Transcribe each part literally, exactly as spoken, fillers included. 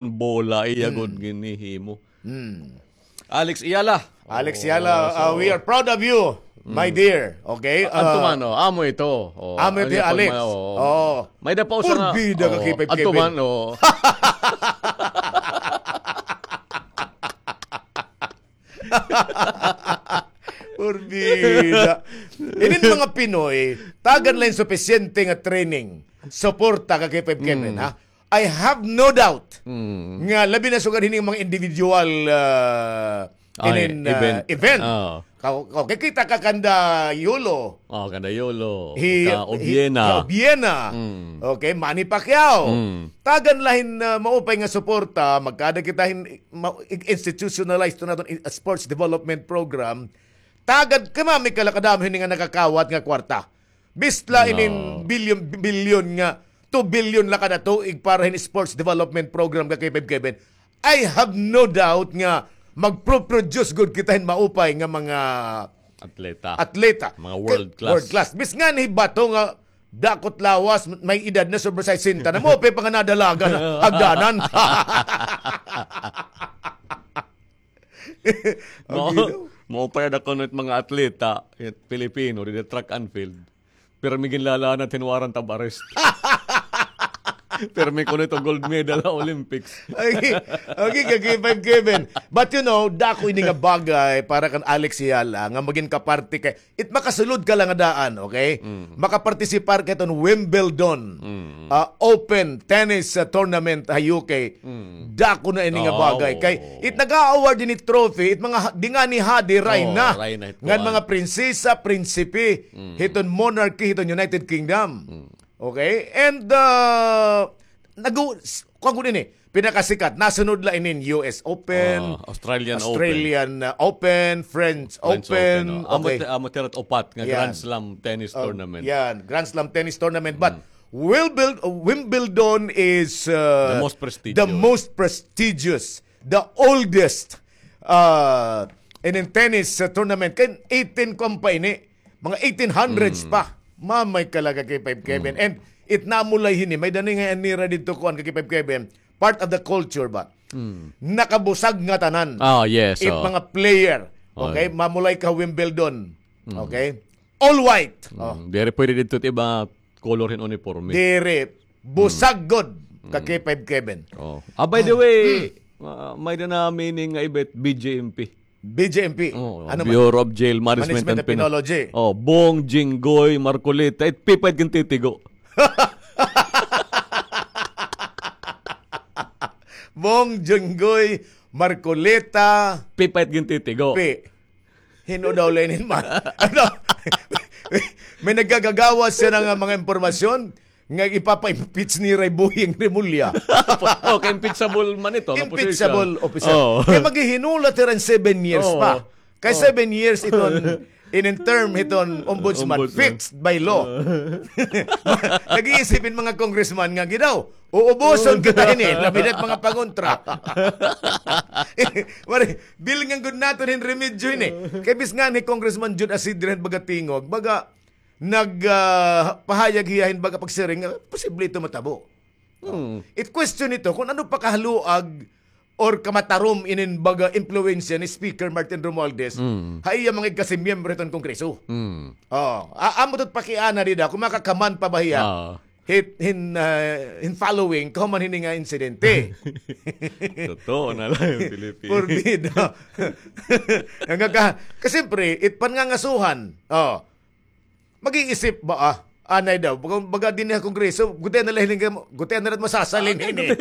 bola, iya gud ginhihimo. Hmm. Alex Ayala. Alex Ayala, uh, we are proud of you, my dear. Okay? Anto man, oh, amo ito. Oh, amo ito, Alex. Oh. May da pa usa nga. Porbida ka, oh, K five Kevin. Anto man, oh. Porbida. Inin mga Pinoy, tagan la hin supisyente nga training. Suporta ka, K five Kevin, ha? I have no doubt nga labi na sugad hining mga individual, ah, inin, ah, event. Ka-, okay, kita ka kanda Yolo. Oh, kanda Yolo. Ka Obiena. Ka Obiena. Okay, Manny Pacquiao. Tagan la hin, ah, maupay nga suporta, magkada kita hin ma-, institutionalize to naton i-, sports development program. Tagad ka, mami, ka la kadamo hini nga nakakawat nga kwarta. Bis la inin bilyon, bilyon nga, two billion la kada tuig para hin sports development program ka K five Kevin. I have no doubt nga magpro-produce gud kita hin maupay nga mga atleta. Atleta. Mga world class. World class. Bis nga ni bato nga dakot lawas, may edad na, sobra sesenta na, maupay pa nga nadalagan, hagdanan. Maupay ada kuno it mga atleta, it Pilipino, dida track and field. Pirmi ginlalanat hin warrant of arrest. Pirmi kuno ito gold medal ha Olympics. Okay, okay, ka K five Kevin. But you know, dako ini nga bagay para kan Alex Ayala nga magin kaparte kay it makasulod ka la nga daan, okay? Makapartisipar ka hiton Wimbledon, ah, Open Tennis, ah, Tournament ha U K. Dako na ini nga bagay. Kay it nag-a-award ini trophy, it mga ha-, dingani hadi, rayna. Ngan mga prinsesa, prinsipe, hiton monarchy, hiton United Kingdom. Okay? And, ah, nagu-, s-, kuwan gud ini, pinakasikat. Nasunod la inin U S Open, Australian Open, French Open. Amo, amo tira it upat nga Grand Slam tennis tournament. Yan, Grand Slam tennis tournament. But Wimbledon, Wimbledon is, uh, the most prestigious, the oldest, uh, in, in tennis, uh, tournament. Kay eighteen kuwan pa ini, mga eighteen hundreds pa. Mamay ka la ka K five Kevin. And it namulay hini, may-ada ini nga nira didto kuwan ka K five Kevin, part of the culture ba? Nakabusag ngatanan. Ah, yes, it mga player. Okay, mamulay ka Wimbledon. Okay? All white. Diri pwede didto it iba color hin uniforme. Diri. Busag gud ka K five Kevin. Ah, by the way, ah, may-ada na meaning nga iba it B J M P. B J M P. Ano man? Bureau of Jail Management and Peno-, Penology. Oh, Bong Jinggoy Marcoleta, it P pa it gintitigo. Bong Jinggoy Marcoleta. P pa it gintitigo. P. Hin-o daw la inin man? Ano? May nagagagawas siya nga mga impormasyon nga ipapa-impeach nira hi Boying Remulla. Okay, impeachable man ito, nga position. Impeachable officer. Oo. Kay maghihinulat hira hin seven years pa. Kay seven years iton, inin term hiton ombudsman, fixed by law. Nag-iisip hin mga congressman nga, "Gi daw, uubuson kita hini, labi na it mga pangontra." Mari, bilingan gud naton hin remedyo hini. Kay bis nga ni Congressman Jude Asidre hin baga tingog, baga nag, ah, pahayag hiya hin baga pagsiring nga posible ito matabo. It question ito kon ano pa kahaluag or kamatarom inin baga impluwensya ni Speaker Martin Romualdez ha iya mga igkasimyembro hiton Kongreso. Oh, a-, amo ito it pakiana dida kon makakaman pa ba hiya hit-, hin, ah, hin following kahuman hini nga insidente. Totoo na la, Pilipino. Porbida. Nga ka, kasi siyempre, it pangangasuhan. Oh. Mag-iisip ba, ah? Anay daw, baga, baga dinhi ha Kongreso, gutian na la hini, gutian na la masasalin hini.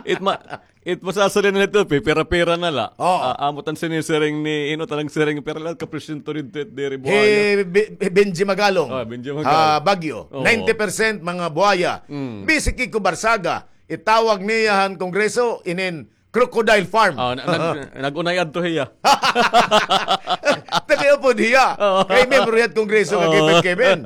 It ma-, it masasalin na ito, pipira-pira na la. Oo. Ah, amo it an sinisiring ni, ino it an siring, pira la ka porsyento didto it diri buaya. Hi Be-, hi Benji Magalong. Ah, Benji Magalong. Ah, Baguio. Oo. Ninety percent mga buaya. Bisik Kiko Barsaga, itawag niya han Kongreso, inin Crocodile Farm. Oh, na-, nag-, nag-unay adto hiya. Taga-upod hiya. Oo. Kay miyembro hiya hit Kongreso nga Kevin Kevin.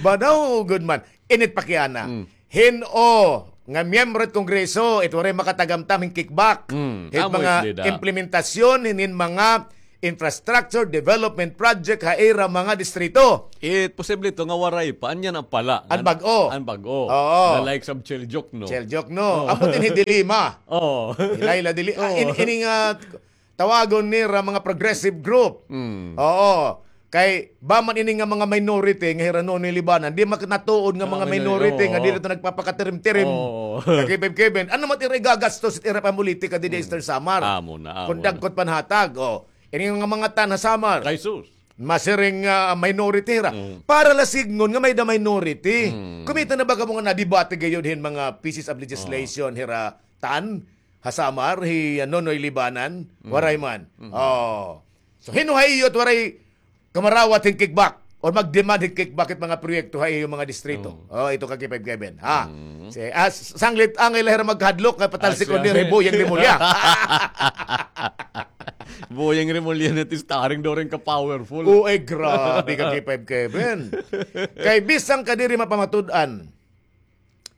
Badaw gud man. Init pakiana. Hin-o nga miyembro hit Kongreso, it waray makatagamtam hin kickback. Hit mga implementasyon, hin, hin mga infrastructure development project ha ira mga distrito. It posible ito nga waray pa. Anya na pala. An bag-o. An bag-o. Oo. The likes of Cheljokno. Cheljokno. Oo. Ambot ini Dili Lima. Oo. Hilay la Dili. Ah, in-, ini nga tawagon nira mga progressive group. Mm. Oo. Kay ba man ini nga mga minority nga hira Nonoy Libanan, di man natuod nga mga minority nga diri to nagpapakatirim-tirim. Oo. Ka K five Kevin, ano man ira igagastos it ira pamolitika didi Eastern Samar? Amo na, amo na. Kon dagko it panhatag, o. Ini nga mga TAN ha Samar. Kay sus. Masiring nga minority hira. Mm. Para la sidngon nga may-ada minority. Mm. Kumita na ba kamo nga nadebate gayod hin mga pieces of legislation hira TAN? Ha Samar, hi, ah, Nonoy Libanan, waray man. Oh. So, hin-o ha iyo it waray kamarawat hin kickback or mag-demand hin kickback it mga proyekto ha iyo mga distrito? Oh, ito ka K five Kevin, ha? Si, ah, s-, sanglit angay la hira magkahadlok, kay patalsik ko ni Boyeng Remulla. Boyeng Remulla na it starring during ka powerful. Uy, grabe ka K five Kevin. Kay bisan ka diri mapamatud-an,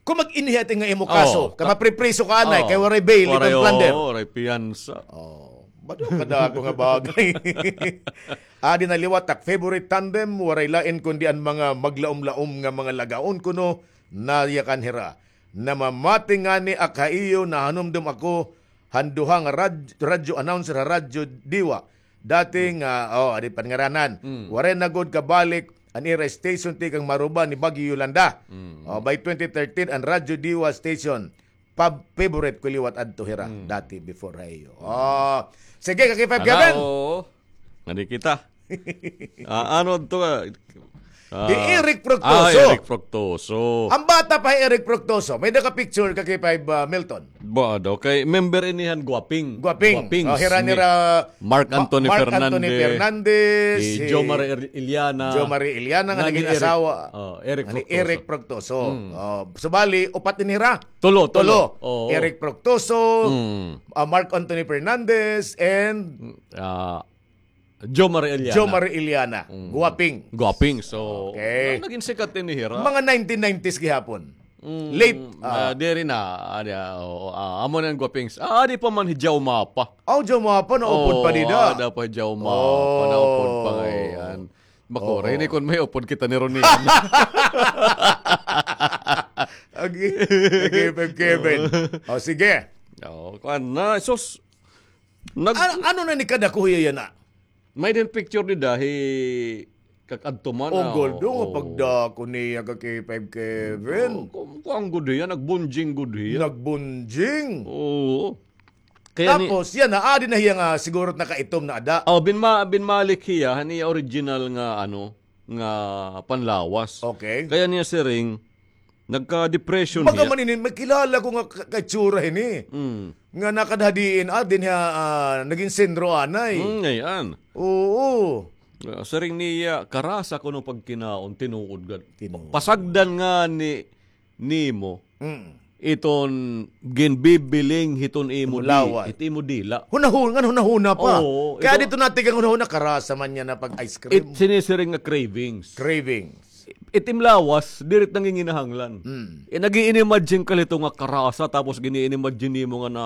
kon mag-inhi ati nga imo kaso, kay mapripriso ka anay, kay waray bail, waray, ikaw plunder. Oo, waray piyansa. Oh, bado kadako nga bagay. Adi na liwat ak favorite tandem, waray lain kundi an mga maglaom-laom nga mga lagaon kuno, nayakan hira. Namamati ngani ak ha iyo, nahanumdom ako han duha nga rad-, radyo announcer ha Radyo Diwa. Dati nga, oh, adi pa ngaranan. Mm. Waray na gud kabalik an ira station tikang maruba ni Bagyo Yolanda. Mm. Oh, by twenty thirteen, an Radyo Diwa station, pab-, favorite ko liwat adto hira, dati before ha iyo. Oh, sige, ka K five Kevin. Oo. Ngani kita. Ah, ano to, ah, Ah, hi Eric Fructuoso. Ah, Eric Fructuoso. An bata pa hi Eric Fructuoso. May naka-picture ka kay five, ah, Milton. Ba daw, kay member ini han Guaping. Guaping. Guaping. Oh, hira nira Mark Anthony Fernandez, si Jo Marie Iliana. Jo Marie Iliana nga naging asawa ni Eric Fructuoso. Oh, subali, upat ini hira. Tulo, tulo. Oh. Eric Fructuoso, ah, Mark Anthony Fernandez, and, ah, Jo Marie Iliana. Jo Marie Iliana. Mm. Guaping. Guaping. So, okay. Naging sikat ini hira. Mga nineteen nineties gihapon. Mm, late, ah, diri na, adi, ah, oo, ah, amo na an Guapings. Ah, adi pa man hi Jaumapa. Aw, Jaumapa, naupod pa dida. Oo, ada pa hi Jaumapa, naupod pa ngay-an. Makuri ini kon may upod kita ni Ronnie. Okay. Okay, Kevin. O, sige. O, kuan na, sus. Nag- An-, ano na ni kadako hiya yana? May din picture dida hi kag-adto man. O, ah, goldo nga pagdako niya ka K five Kevin. O, ku-, kuan gud hiya, nagbunjing gud hiya. Nagbunjing? Oo. Kaya ni- Tapos, yana, adi na hiya nga siguro nakaitom na ada. O, binma-, binmalik hiya, han iya original nga, ano, nga panlawas. Okay. Kaya niya siring, nagka-depression hiya. Baga man ini, may kilala ko nga ka-, kaitsura hini. Mm. Nga nakadhadiin, ah, dinhi ha, ah, naging sentro anay. Mm, ngay-an. Oo. Ah, siring niya, karasa kuno pagkinaon, tinuod gad. Tinuod. Pasagdan ngani nimo. Mm. Iton ginbibiling hiton imo di-, lawas. Hit imo dila. Hunahuna, ngan hunahuna pa. Oo, kaya ito, dito natikang hunahuna, karasa man niya na pag ice cream. It sinisiring nga cravings. Cravings. It im lawas, diri it nanginginahanglan. Mm. Eh, nag-i-imagine ka lito nga karasa, tapos gini-imagine nimo nga na,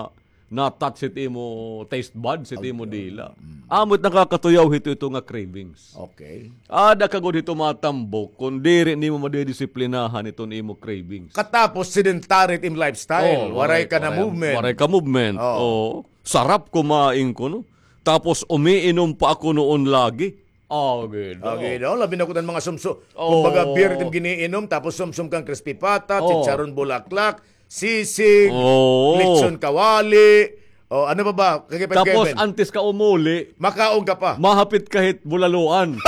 na-touch it imo taste buds, it imo dila. Mm. Amo it nakakatuyaw hito, ito nga cravings. Okay. Ada ka gud hito matambok, kon diri nimo madidisiplinahan iton imo cravings. Katapos sedentary it im lifestyle, waray ka na movement. Waray ka movement. Oo. Oo. Sarap kumain kuno. Tapos umiinom pa ako noon lagi. Ah, gid. Ah, gid. Labi na kuno an mga sumso-, kumbaga, beer it im giniinom, tapos sumsom kang crispy pata, chicharon bulaklak, sisig, lechon kawali. O, ano pa ba? Kay Kevin. Tapos, antes ka umuli, makaon ka pa. Mahapit ka hit bulaluan.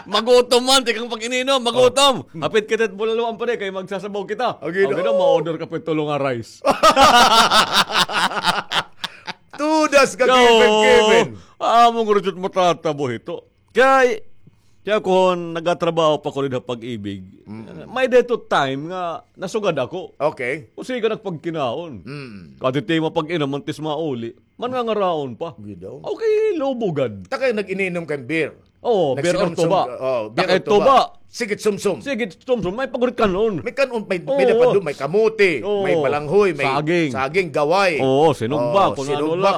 Magutom man, tikang pag-ininom, magutom. Hapit ka hit bulaluan pa di, kay magsasabaw kita. Okay, okay, no? Ma-order ka pa tulo nga rice. Tudas ka, Kevin, Kevin. Amo gud it matatabo hito. Kay, kay ako, nagatrabaho pa ko dida ha Pag-ibig. Mm. May-ada hito time nga nasugad ako. Okay. Usikan ak pagkinaon. Mm. Kay it imo pag-inom, antes mauli, mangangaraon pa. Gid daw. Okay, lubo gad. Ta kay nag-ininom kang beer. Oo, beer or tuba. Takay tuba. Sige, sumsum. Sige, sumsum. May pagurit kan-on. May kan-on, may, may napado, may kamote, may balanghoy, may saging, gaway. Oo, sinugba,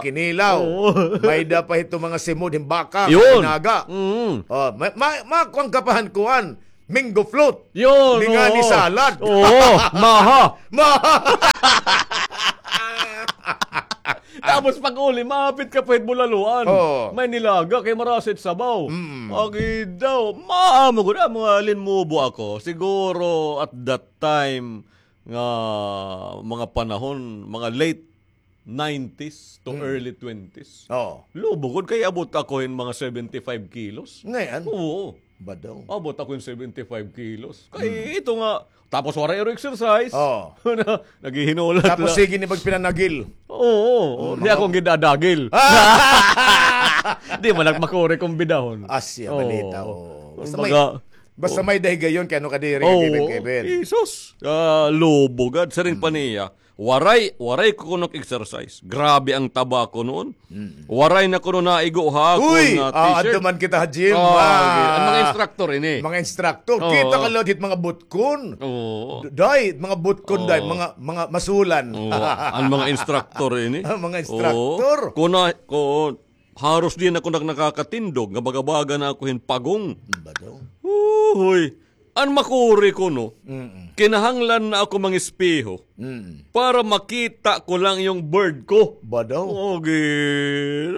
kinilaw. May da pa ito mga simod, himbaka, inaga. Oo, may, may, may kuan ka pa han kuan. Mango float. Yun, oo. Ni nga ni salad. Oo, maha. Maha. Tapos pag-uli, mahapit ka pa hit bulaluan. Oo. May nilaga kay marasa it sabaw. Mm. Agi daw, maamo gud, ah, mga linmubo ako. Siguro at that time nga mga panahon, mga late nineties to early twenties. Oo. Lubo gud kay abot ako hin mga seventy-five kilos. Ngay-an? Oo. Badaw. Abot ako hin seventy-five kilos. Kay ito nga, tapos waray iro exercise. Oo. Naghihinulat la. Tapos sige ni pagpinanagil. Oo, oo. Di ako gidadagil. Di man nagmakuri kon bidahon. Asya, balita, oo. Basta may, basta may dahigayon kay ano kadiri, Kevin, Kevin. Jesus. Ah, lubo gad. Siring pa niya, waray, waray ko kuno exercise. Grabe ang taba ko noon. Waray na kuno naigo ha akon nga t-shirt. Uy, adto man kita ha gym. An mga instructor ini. Mga instructor. Kita ka liwat hit mga butkon. Oo. Day, mga butkon, day, mga, mga masulan. Oo, an mga instructor ini. An mga instructor. Kuno, kuno, haros di na ako nak-, nakakatindog, nga baga-baga na ako hin pagong. Badaw. Uy, an makuri ko, no? Kinahanglan na ako mangespeho para makita ko lang yung bird ko. Badaw. Okay.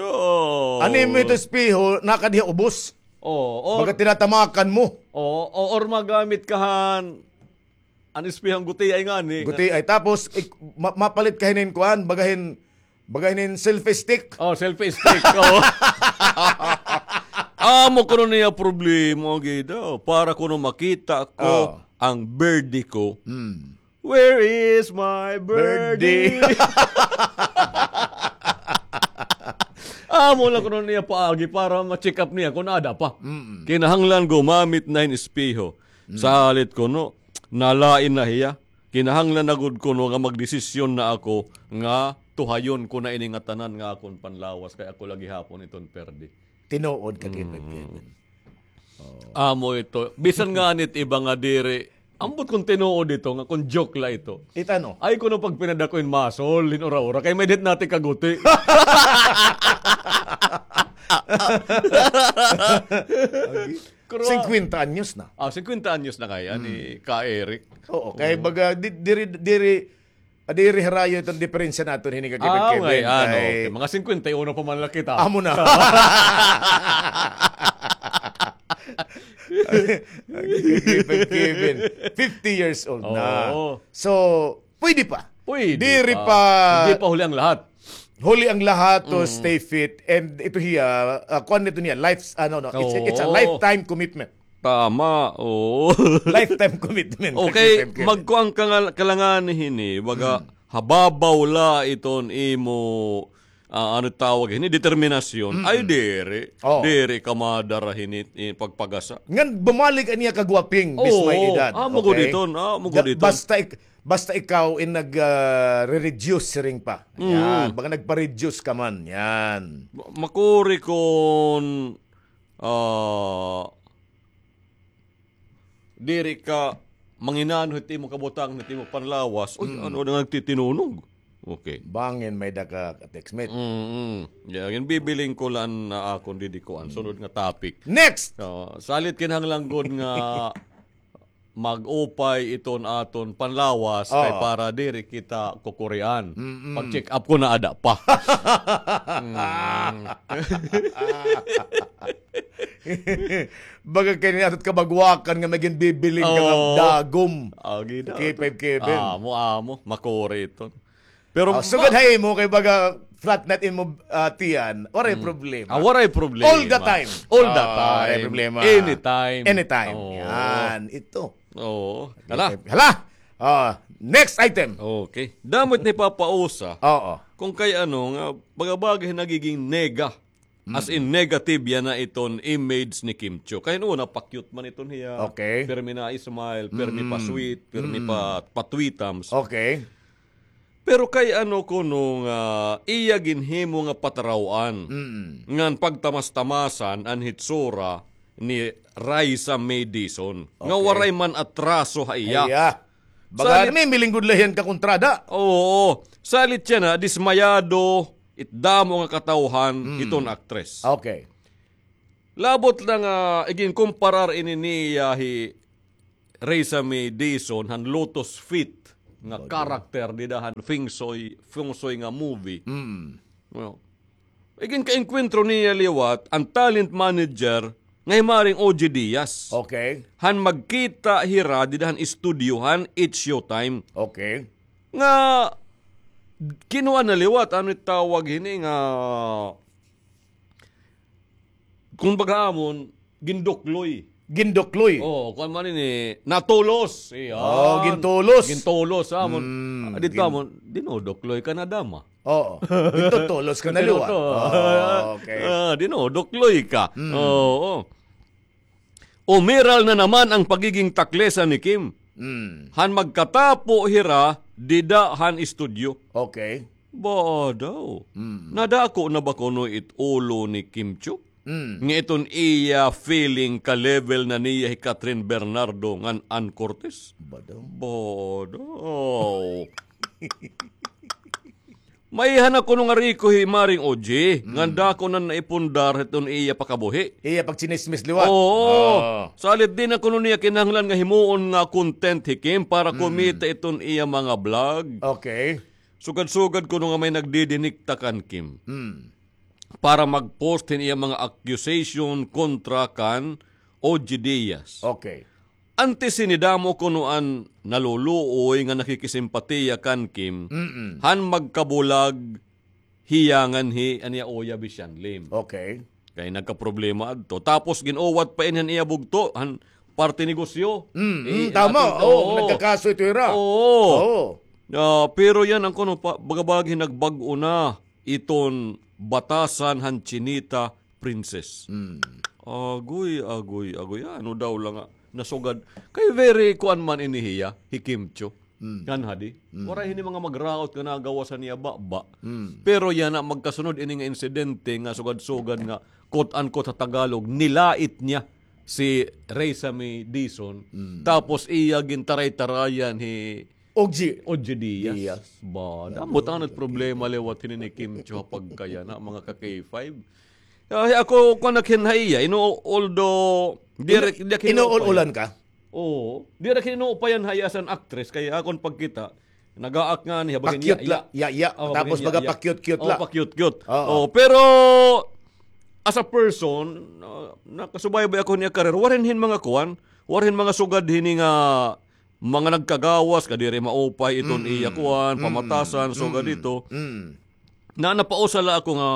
Ano mo ito espeho, nakadiha ubos? Oo, or baga tinatamakan mo. Oo, o-, or magamit ka han an espehong gutiay ngani. Gutiay. Tapos, ik-, ma-, mapalit ka hinin kuan, baga hin, baga hinin selfie stick. Oh, selfie stick. Oo. Amo kuno niya problema, gida. Para kuno makita ko ang birdie ko. Where is my birdie? Amo lang kuno niya paagi para ma-check up niya kung ada pa. Kinahanglan gumamit na hin espeho. Salit kuno, nalain na hiya. Kinahanglan na gud kuno nga magdesisyon na ako nga tuhayon ko na ini nga tanan nga akon panlawas kay ako la gihapon iton perdi. Tinuod ka, Kevin, Kevin. Amo ito. Bisan nga nit iba nga diri, ambot kon tinuod ito, nga kon joke la ito. It ano? Ay, kuno pagpinadako in masol, hin ura-ura, kay may dit nati kaguti. Singkwenta anyos na. Ah, singkwenta anyos na kaya ni Ka Eric. Oo, kay baga, di-, diri, diri, diri harayo iton diferensya naton hini ka Kevin, Kevin, ano, kay mga singkwenta y uno pa man la kita. Amo na. Kevin, Kevin, fifty years old na. Oo. So, pwede pa. Pwede pa. Diri pa. Hindi pa huli ang lahat. Huli ang lahat to stay fit. And ito hiya, ah, kuan nito niya, life's, ano, no, it's, it's a lifetime commitment. Tama, oo. Lifetime commitment. Okay, magkuan ka nga, kalangan hini, baga, hababaw la iton imo, ah, ano tawag hini, determinasyon. Ay, diri. Diri ka madara hini, eh, pagpagasa. Ngan bumalik an iya kagwaping, bis may edad. Amo gud iton, amo gud iton. Basta ik-, Basta ikaw in nag, ah, re-reduce siring pa. Yan, baga nagpa-reduce ka man. Yan. Ma-, makuri kon, ah, diri ka manginano hit imo kabutang, hit imo panlawas. Uy, ano na nagtitinunog? Okay. Bangin may da ka text mate. Mm-mm. Yan, bibiling ko lang na akon didikuan. Sunod nga topic. Next! Oh, salit kinahanglan gud nga mag-upay iton aton panlawas kay para diri kita kukurian. Pag-check up ko na ada pa. Baga kay ni atot kabagwakan nga may ginbibiling ka nga dagom. K five Kevin. Amo, amo. Makuri iton. Pero sugad ha imo kay baga flat na it imo, ah, tiyan, waray problema. Ah, waray problema. All the time. All the time. Waray problema. Anytime. Anytime. Oo. Yan, ito. Oo. Hala. Hala. Ah, next item. Okay. Damo it nipapausa. Oo. Kung kay ano, nga baga-baga nagiging nega. As in, negative yana iton image ni Kim Chiu. Kay una, pa-cute man iton hiya. Okay. Pirmi na smile, pirmi pa sweet, pirmi pa, pa tweetams. Okay. Pero kay ano kuno nga iya ginhimo nga pataraw-an. Ngan pagtamas-tamasan an hitsura ni Raisa May Dizon nga Okay. waray man atraso ha iya. Iya. Baga Salit- may milinggod la hiya nga kontrada. Oo. Salit yana, dismayado it damo nga katawhan Mm. hiton aktres. Okay. Labot la nga iginkomparar ini niya hi Raisa May Dizon han Lotus Fit nga Baga. karakter dida han Feng Shui, Feng Shui nga movie. Mm. Well, iginkaengkwentro niya liwat an talent manager nga hi Maring O G Diaz. Okay. Han magkita hira dida han estudyo han It's Showtime. Okay. Nga kinuan na liwat, ano it tawag hini nga, kung baga amon, gindukloy. Gindukloy. Oo, kuan man ini, natulos. Iyan. Oh, gintulos. Gintulos, amon. Mm, Ah, dito gin- amon, dinudukloy ka na, dama. Oo. Dito tulos ka na liwat. Dito. Oh, okay. Ah, dinudukloy ka. Mm. Oo. Umiral na naman ang pagiging taklesa ni Kim. Mm. Han magkatapo hira dida han estudyo. Okay. Ba daw. Mm. Nadako na ba kuno it ulo ni Kim Chiu? Mm. Nga iton iya feeling ka-level na niya hi Kathryn Bernardo ngan Ann Curtis? Ba daw. Ba daw. Maiha na kuno nga riko hi Maring O G, Mm. nga dako na naipundar hiton iya pakabuhi. Iya pagchinismis liwat. Oo. Ah. Salit di na kuno niya kinahanglan nga himuon nga content hi Kim para Mm. kumita iton iya mga vlog. Okay. Sugad-sugad kuno nga may nagdidinikta kan Kim Mm. para mag-post hin iya mga accusation kontra kan O G Diaz. Okay. Antes hini damo kuno an naluluoy nga nakikisimpatiya kan Kim, Mm-mm. han magkabulag hiya ngan hi, an iya uya, Bish Yan Lim. Okay. Kay nagkaproblema adto. Tapos gin-uwat pa ini han iya bugto, han parte negosyo. Mm, Eh, mm, tama. atin, Oo, oo. nagkakaso ito ira. Oo. Oo. Ah, pero yana an kuno pa, baga-baga hin nagbag-o na iton batasan han Chinita Princess. Mm. Agoy, agoy, agoy. Ano daw la nga nasugad. Kay very kuan man ini hiya, hi Kim Chiu. Mm. Ngan hadi. Mm. Waray hini mga magraot nga nagawas han iya baba. Mm. Pero yana magkasunod ini nga insidente nga sugad-sugad nga, quote-unquote, ha Tagalog, nilait niya si Raisa May Dizon. Mm. Tapos iya gintaray-tarayan hi Oggy. Oggy Diaz. Diaz. Ba, Ano? damo it problema liwat hini ni Kim Chiu ha pagkayana, mga ka-K five. Ay, ako, kuan, ak hin ha iya, ino-, although, di Ino-, ra-, di ak hin inuul-ulan upayan. ka? Oo. Di ra ak hin inuupayan ha iya as an actress, kay akon pagkita, nagaak ngani, ha, baga Pakyut niya, la, iya. iya, iya. Oh, Tapos baga niya, baga iya. pakyut-kyut Oh, la. pakyut-kyut. Oo. Oh, pero, as a person, uh, nakasubaybay ako niya career. Waray hin mga kuan, waray hin mga sugad hini nga mga nagkagawas, kadiri maupay iton Mm-mm. iya kuan, Mm-mm. pamatasan, sugad Mm-mm. ito. Mm. Na napausa la ako nga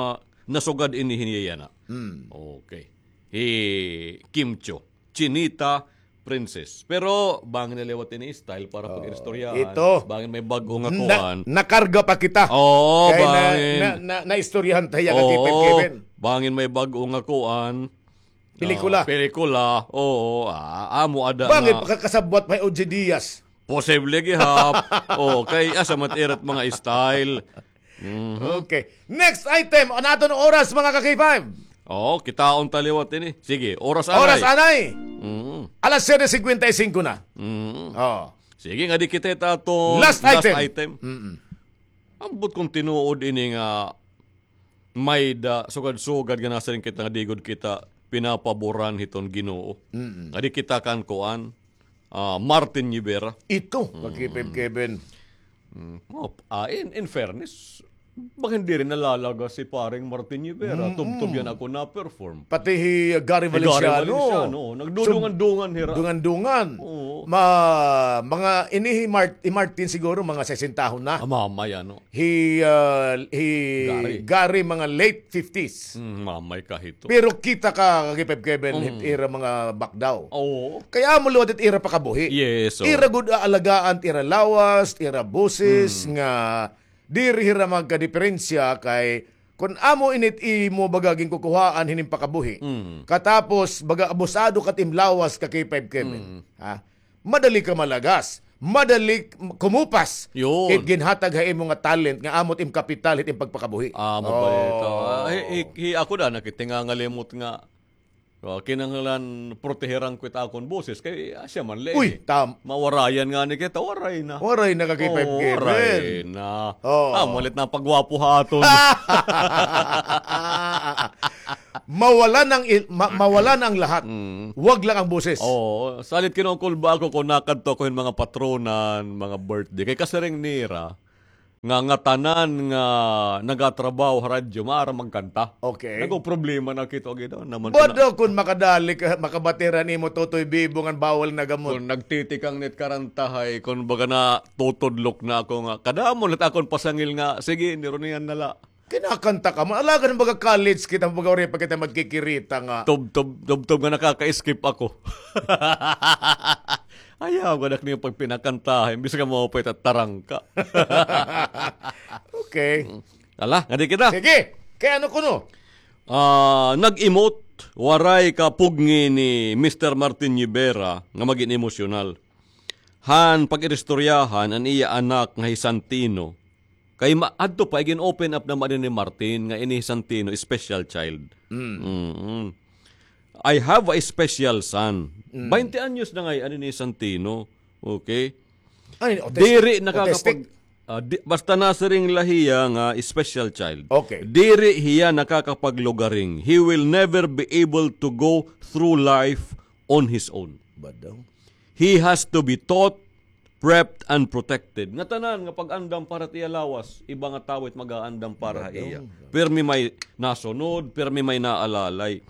nasugad ini hini yana. Mm. Okay. Hi Kim Chiu, Chinita Princess. Pero bangin na liwat ini style para Oh, pag-iristoryahan. ito. Bangin may bag-o nga Na-, kuan. nakarga pa kita. Oo, Kay na, bangin. na, na, naistoryahan ta hiya ka Oo, Kevin. bangin may bag-o nga kuan. Pelikula. Ah, pelikula. Oo, ah, amo ada Bangin nga pakakasabwat pa hi Oggy Diaz. Posible gihap. Oo, kay asa man it ira it mga style. Mhm. Okay. Next item, an aton oras, mga ka-K five. Oo, kitaon ta liwat ini. Sige, oras anay. Oras anay. Mhm. Alas siyete cincuenta y cinco na. Mhm. Oo. Sige, ngadi kita it aton Last last item. item. Mm-mm. Ambot kon tinuod ini nga may-ada sugad-sugad nga nasiring kita nga di gud kita pinapaboran hiton Ginoo. Mm-mm. Ngadi kita kan kuan, ah, Martin Nievera. Ito, Mm. ka-K five Kevin. Mm. Oh, ah, in, in fairness, bangin diri nalalagas hi Paring Martin Nievera. Mm-mm. Tubtob yana ako na-perform. Pati hi Gary Hi Gary Valenciano. Valenciano, nagdudungan-dungan hira. Sub-, dungan-dungan. Oo. Ma-, mga ini hi Mart-, hi Martin siguro, mga sesentahon na. Ah, mamay, ano. Hi, ah, hi Gary. Gary, mga late fifties. Mm, mamay ka hito. Pero kita ka, ka-K five Kevin, Mm. hit ira mga bakdaw. Oo. Kay amo liwat it ira pakabuhi. Yes, oo. Ira gud aalagaan, ira lawas, ira boses, Mm. nga diri hira magkadiperensya kay kon amo ini it imo baga ginkukuhaan hining pakabuhi. Mm. Katapos baga abusado ka it im lawas ka-K five Kevin. Mm. Ha? Madali ka malagas. Madali k-, kumupas. Yun. It ginhatag ha imo nga talent nga amo it im kapital hit im pagpakabuhi. Amo pa ito. Oh. Ah, hi, hi, hi, ako da, nakitingangalimot nga O, kinahanglan proteheran ko it akon boses. Kay, ah, siya man, lagi. Uy, tam- Mawarayan ngani kita, waray na. Waray na ka kay Oo, Five Kevin. Waray na. Oo. Ah, malit na pagwapo ha aton. Mawala ng il-, ma-, mawala ng lahat. Mm. Wag lang ang boses. Oo, salit kinukulba ako kung nakadto ko hin mga patronan, mga birthday. Kay kasiring nira, nga, nga tanan nga nagatrabaho ha radyo, maaram magkanta. Okay. Nagproblema na kito, gid, naman ko na. Bado kun makadali ka, makabati ra nimo Totoy Bibo ngan bawal na gamot. Kun nagtitikang nit karantahay, kun baga natutudlok na ako nga, kadamo nit akon pasangil nga, sige, nirunian na la. Kinakanta ka man. Alagad baga college kita, baga waray pa kita magkikirita nga. Tubtob, tubtob nga nakaka-skip ako. Ayaw, gadak niyo pagpinakantahan. Imbis nga maupay ta tarangka. Okay. Ala, ngadi kita. Sige. Kay ano kuno? Ah, nag-emote, waray ka pugngi ni Mister Martin Rivera nga magin emosyonal. Han pag-iristoryahan an iya anak nga hi Santino. Kay ma-, adto pa, igin-open up naman ni Martin nga ini hi Santino, special child. Mm. Mm-mm. "I have a special son." Mm. Baynte anyos na ngay-an ini hi Santino. Okay? Ay, autistic? Diri nakakapag-, Autistic? Ah, di, basta nasiring la hiya nga special child. Okay. Diri hiya nakakapaglugaring. He will never be able to go through life on his own. Bad daw. He has to be taught, prepped, and protected. Nga tanan nga pag-andam para ha iya lawas, iba nga tawo it mag-aandam para ha iya. Bad daw. Pirmi may nasunod, pirmi may naalalay.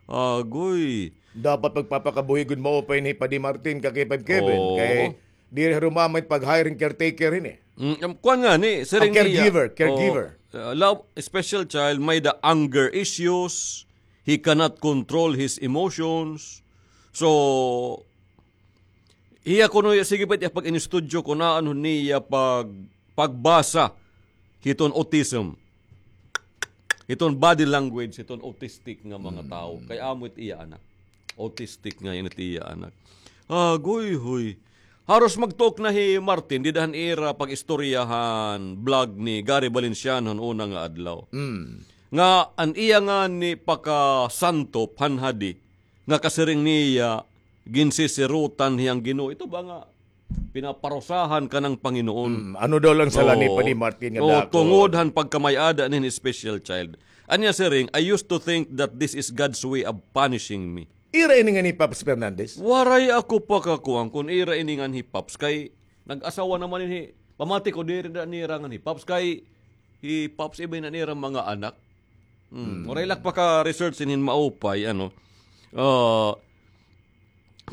Agoy. Dapat magpapakabuhi gud maupay ni Padi Martin, ka K five Kevin. Oo. Kay diri harumamay pag-hiring caretaker ini. Mm, um, kuan ngani, siring niya. Caregiver, caregiver. Oh, uh, love, special child, may-ada anger issues, he cannot control his emotions. So, hiya kuno, sige pa it iya pag-inistudyo kun ano niya pag-, pagbasa hiton autism. Hiton body language, hiton autistic nga mga tawo. Kay amo it iya anak. Autistic nga ini it iya anak. Agoy, hoy. Haros magtuok na hi Martin, dida han ira pag-istorya han blog ni Gary Valenciano han una nga adlaw. Mm. Nga an iya ngani pakasantop han hadi, nga kasiring niya, ginsisirutan hiya han Ginoo. Ito ba nga pinaparusahan ka ng Panginoon. Mm, ano daw la an sala ni Padi Martin nga dako? Oo, tungod han pagkamay-ada nin special child. An iya siring, "I used to think that this is God's way of punishing me." Ira ini ngan hi Pops Fernandez? Waray ako pakakuan kun ira ini ngan hi Pops kay nag-asawa naman ini. Pamati ko diri na nira ngan hi Pops kay hi Pops iba na nira mga anak. Hmm, waray la ak paka-research hin maupay, ano. Ah,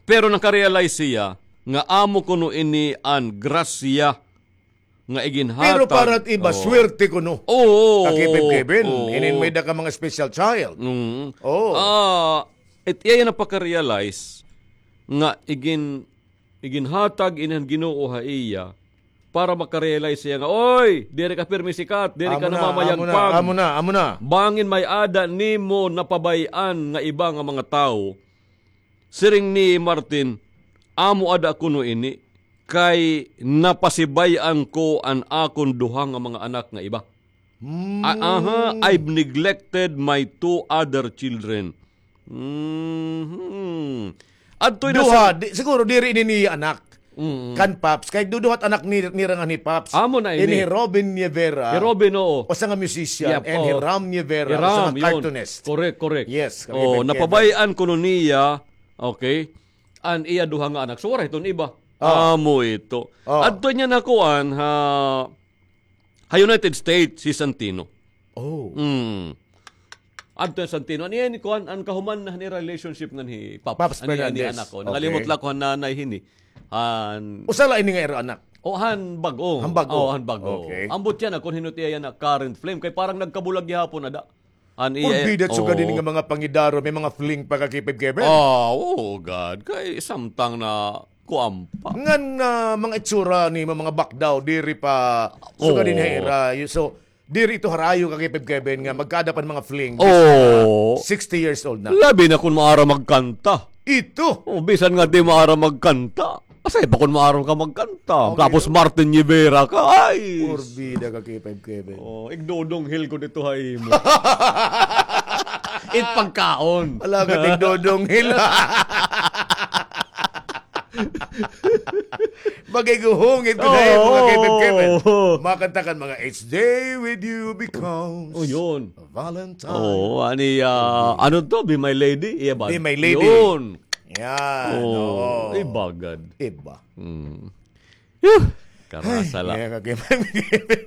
pero naka-realize siya nga amo kuno ini an grasya nga iginhatag. Pero para it iba, swerte kuno. Oo, oo, oo. Kakipit Kevin, inin may-ada ka mga special child. Mm. Oo. Ah, it iya napaka-realize nga igin-, iginhatag ini han Ginoo ha iya para maka-realize siya nga, "Oy, diri ka pirmi sikat, diri ka namamayagpag. Amo na, amo na, amo na. Bangin may-ada nimo napabay-an nga iba nga mga tawo." Siring ni Martin, "Amo ada kuno ini, kay napasibay-an ko an akon duha nga mga anak nga iba." Hmm. A-, aha, "I've neglected my two other children." Mhm. Adto na duha, sa di, siguro diri ini niya anak. Mm. Kan Pops, kay duduhat anak ni, nira ngan hi Pops. Amo na ini. Ini hi Robin Nievera. Hi Robin, oo. Usa nga musician, yep, and hi Ram Nievera, usa nga cartoonist. Correct, correct. Yes, oh, napabay-an kuno niya, okay, an iya duha nga anak. So, waray iton iba. Oh. Amo ito. Oh. Adto niya nakuan ha, ha United States, hi Santino. Oh. Mm. Adto hi Santino. An iya ni kuan, an kahuman na ni relationship ngan hi Pops. Pops Fernandez. An iya ni anak ko. Okay. Nangalimot la ko han nanay hini. Han usa la ini nga ira anak? O, han bag-o. Han bag-o. O, han bag-o. Okay. Ambot yana kun hin-o it iya yana current flame. Kay parang nagkabulag gihapon ada. An iya, porbida, sugad ini nga mga pangidaro, may mga fling pa ka K five Kevin. Ah, oh God. Kay samtang na kuan pa. Ngan, ah, mga itsura ni mga bakdaw, diri pa, sugad ini ha ira. So, diri ito harayo ka K five Kevin nga magkaada pa hin mga fling. Oo. Sixty years old na. Labi na kun maaram magkanta. Ito. Oh, bisan nga di maaram magkanta. Asay pa kun maaram ka magkanta. Okay. Tapos Martin Rivera ka. Ay. Porbida ka K five Kevin. Oh, igdodonghil ko dito ha imo. It pagkaon. Wala ka tigdodonghil. Magiguhungit ko na yun, mga kaibigan. Oo. Makanta kan mga Each Day With You Becomes Oh, yun. Valentine. Oo, ani, ah, ano to? Be My Lady? Iya ba? Be My Lady. Yun. Yan, Oo, oo. Iba gad. Iba. Mm. Yuh! Karasa la. Ay, kaya ka, kaya